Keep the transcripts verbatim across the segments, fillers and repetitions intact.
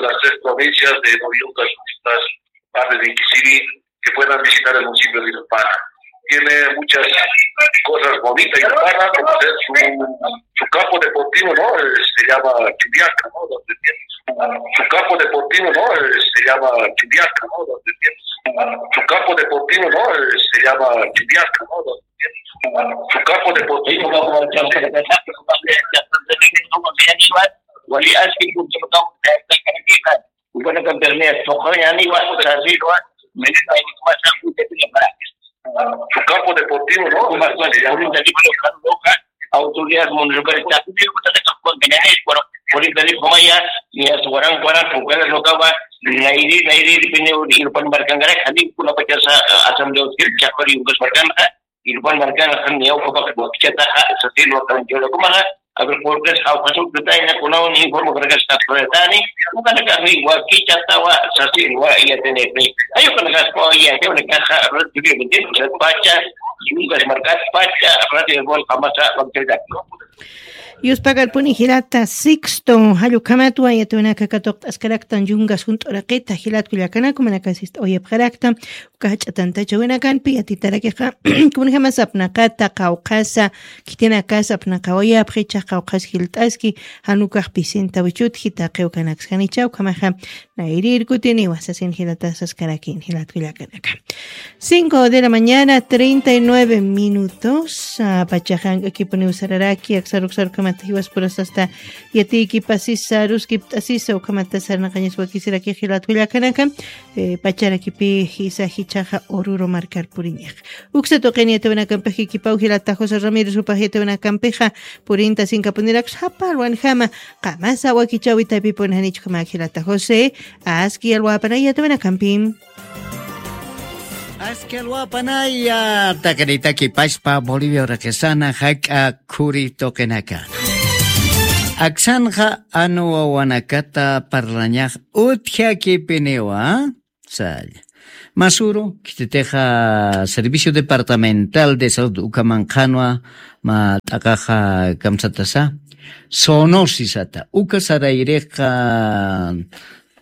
de las tres provincias de Novi Yungas, Yungas, parte de Iquisirí, que puedan visitar el municipio de Irpana. Tiene muchas cosas bonitas Irpana, como ser su, su campo deportivo, ¿no? Eh, se llama Chubiaca, ¿no? Donde tiene su, su campo deportivo, ¿no? Eh, se llama Chubiaca, ¿no? Donde tiene su, su campo deportivo, ¿no? Eh, se llama Chubiaca, ¿no? Donde tiene su, su campo deportivo, ¿no? Wali aski ukanaka bernia toqañani wa sasirwa, menina, su campo deportivo, ¿no? Más, más, se llama. Autoridad municipal, bueno, por el teléfono ya, ya su waran, waran, porque les tocaba, nairi, nairi, depende, Irpan marcangara, kami, kuna pacha sa, asamblea, chakari, Yungas marcangara, Irpan marcangara, kami, ya, ocupa, que, ya está, sa, sí, lo, yo lo, como, Agricultores jawqasuktatayna kunawan informe kanakas tatqatatani, ukanakaxi wakichatawa sasilwa yatiniqni. Ayukanakaspa yatiwanakaxa radioyawintin usatpacha, yungas markatpacha, radioyawal qamasa wakchaytaki. Yuspagarpuni jilata Sixto, jallukhamatwa yatiwanaka katuqt'askaraktan yungas junt'uraqita jilat kullakanaka manakasista uyapxarakta. Uka jach'a tantachawinakanpi yatitarakiqa, kunjamasa apnaqata qawqhasa, khitinakasa apnaqawayapxi, ichax qawqhas jilt'aski, jan ukax pisinta wichutji, taqi ukanaksjanicha, ukhamaxa nayrir kutiniwa sasin jilatasas karakin jilat kullakanaka. Cinco de la mañana, treinta y nueve minutos. Ah, pachaxa ank'akipuniw sararaki, aksaruksarukamata jiwaspurasasta yatiykipasisa, ruskipt'asisa, ukhamata sarnaqañas wakisiraki jilat kullakanaka. Eh, pacharakipi jisa jichhaxa Oruro markar puriñax. Uksa tuqini yatiwinakampix kikipaw jilata José Ramírez jupax yatiwinakampixa purinta sinkapuniraksa japarwanjama, qamasa wakichäwi taypipuni janichkama jilata José, aski alwapanay yatiwinakampi. Aski alwapanaya, taqinitaki pachpa Bolivia uraqisana jak'a khuri tuqinaka. Aksanxa anu wawanakata parlañax utjakipiniwa, salla. Masuru, khititixa Servicio Departamental de Salud ukamanqhanwa, ma t'aqaxa kamsatasa, zoonosisata. Uka sarayrixa,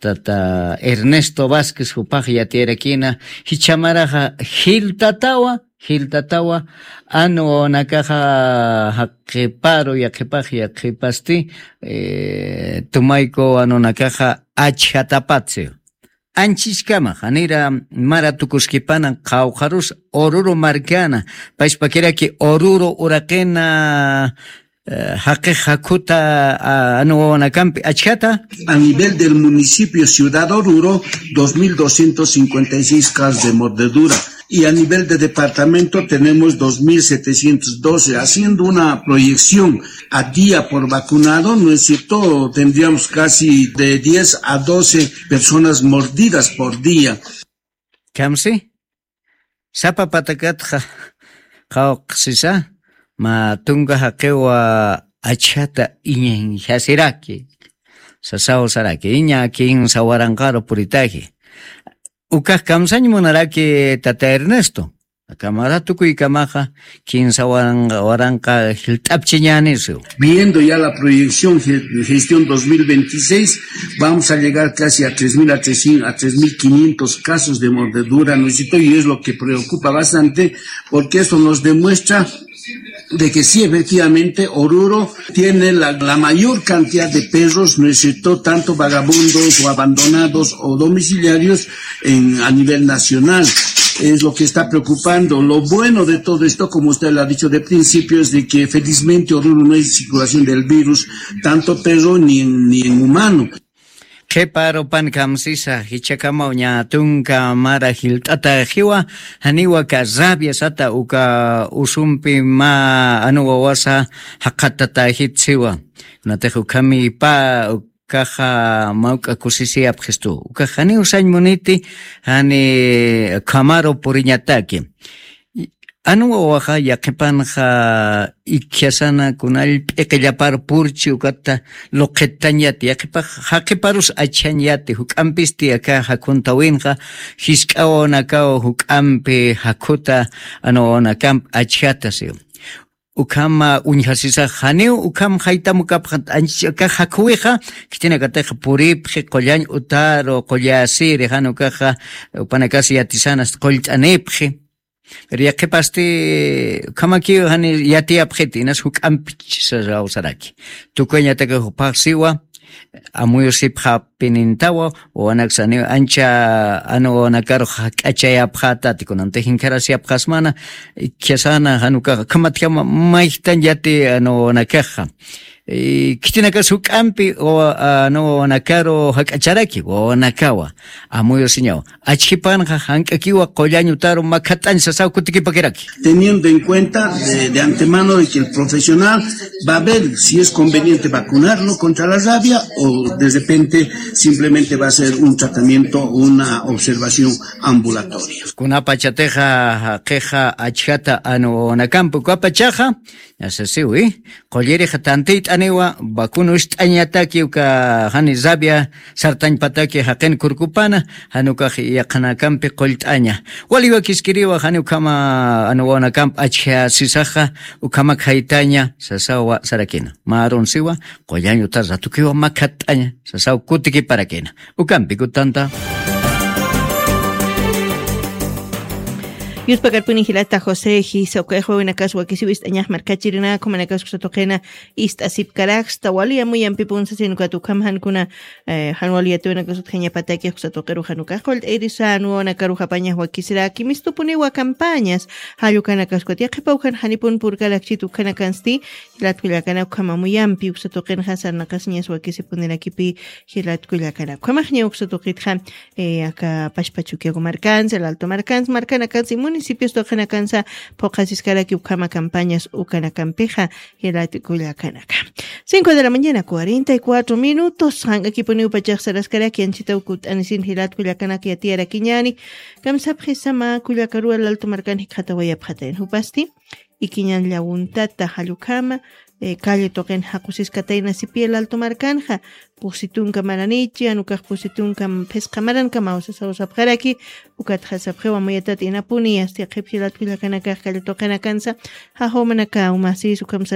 tata Ernesto Vázquez jupax yatiyarakina, jichhamaraxa jiltatawa, jiltatawa, anu wawanakaxa jaqiparu, yaqhipax, yaqhipasti, eh, tumayku anunakaxa achjatapatsi. Anchiskama, janira mara tukuskipana qawqharus Oruro markana, pachpakiraki Oruro uraqina, eh, jaqix jakhuta, ah, anu wawanakampi achjata. A nivel del municipio Ciudad Oruro, dos mil doscientos cincuenta y seis casos de mordedura. Y a nivel de departamento tenemos dos mil setecientos doce, haciendo una proyección a día por vacunado, ¿no es cierto? Tendríamos casi de diez a doce personas mordidas por día. Kamsi, sapa patakatxa qawqsisa, ma tunka jaqiwa achjata iñañjasiraki, sasaw saraki, iña kinsa waranqaru puritaji. Ukax kamsañ munaraki tata Ernesto. Akamara tukuykamaxa kinsa waranqa, waranqa jilt'apchiñänisiw. Viendo ya la proyección ge-, gestión dos mil veintiséis, vamos a llegar casi a tres mil a trescientos, a tres mil quinientos casos de mordedura, ¿no es cierto? Y es lo que preocupa bastante, porque eso nos demuestra de que sí, efectivamente, Oruro tiene la, la mayor cantidad de perros, ¿no es cierto?, tanto vagabundos o abandonados o domiciliarios en, a nivel nacional. Es lo que está preocupando. Lo bueno de todo esto, como usted lo ha dicho de principio, es de que felizmente Oruro no hay circulación del virus, tanto perro ni en, ni en humano. Qhiparupan kamsisa, jichhakamaw ñä tunka mara jilt'ataxiwa, janiwa aka rabia sata uka usumpi mä anu wawasa jaqatatäjitsiwa. Kunatix ukhami pä, ukaxa mawk'a kusisiyapxistu. Ukax janiw sañ muniti, jani ukhamaru puriñataki. Anu wawaxa yaqhipanxa ikkhasana kunall p'iqillapar purchi ukata luqhittañ yati, yaqhipax jaqiparus achjañ yati, juk'ampisti aka jakhuntawinxa jisk'a wawanakaw juk'ampi jakhuta anu wawanakamp achjata siw. Ukhama uñjasisax janiw ukham jaytam ukapxa anchich aka jakhuwixa, khitinakatix puripxi qullañ utaru, qullasiri, jan ukaxa upanakas yatisanas qullt'anipxi. Pero yaqhipasti ukhamakiw jani yatiyapxiti, inas juk'ampich saraw saraki. Tukuyañataki juphax siwa, amuyusipxapinintawa, wawanaksa niw ancha anu wawanakarux jak'achayapxatati, kunanti jinkharasiyapxasmana, ikkhasana jan ukaxa, ukhamatjama mayjtañ yati anu wawanakaxa. Khitinakas juk'ampi wawanakaru jak'acharaki wawanakawa. Amuyusiñaw achjipanxa jank'akiwa qullañutaru makhat'añ sasaw kutikipakiraki. Teniendo en cuenta de, de antemano de que el profesional va a ver si es conveniente vacunarlo contra la rabia o de repente simplemente va a ser un tratamiento, una observación ambulatoria. Kunapachatixa jaqixa achjata anu wawanakampukwapachaxa, ñasasiwi qullirixa tantiyt'aniwa vacunucht'añataki uka jani rabia sartañpataki jaqin kurkupana. Janukax yaqhanakampi qullt'aña waliwa kiskiriwa jani ukhama anu wawanakamp achjasisaxa. Ukhamak jaytaña sasawa sarakina marunsiwa qullañuta ratukiwa makhat'aña sasaw kutikiparakina. Ukampi kutanta. Yuspakarpuni jilata josé jisa ukayxwawinakas wakisiw ist'añax markachirinaka jumanakasksa tuqina ist'asipkaraksta wali amuyampipun sasin ukat ukham jankuna. Jan wali yatiwinakas utjañapataki juksatuqiru janukax qullt'ayrisan wawanakaru japañax wakisiraki mistupuniwa campañas. Jallukanakaskwat yaqhipaw jan janipun purkarakchit ukhanakansti. Jilatkullakanak ukham amuyampi uksatuqinxa sarnaqasiñas wakisipunirakipi. Jilatkullakanak ukhamaxña uksatuqitxa aka pashpachukiaku markansa laltu markansa markanakansa y municipios tuqinakansa phuqasiskaraki ukhama campañas ukanakampixa. Jilatkullakanaka cinco de la mañana cuarenta y cuatro minutos jank'akipuniw pachaxsaraskaraki anchitaw kut'anisin jilatkullakanaka yatiyarakiñani. Kamsapxisama kullakaruwa laltu markan jikxatawayapxatayan jupasti ikiñan llawuntata jallukhama. Calle tuqin jaqusiskatayna sipiya laltu markanxa pusi tunka maranichi anukax pusi tunka phisqa marankamaw sasaw sapxaraki. Ukatxa sapxiwa muyatat inapuni asti qhipji latkullakanakax calle tuqinakansa jajumanakaw masis ukham.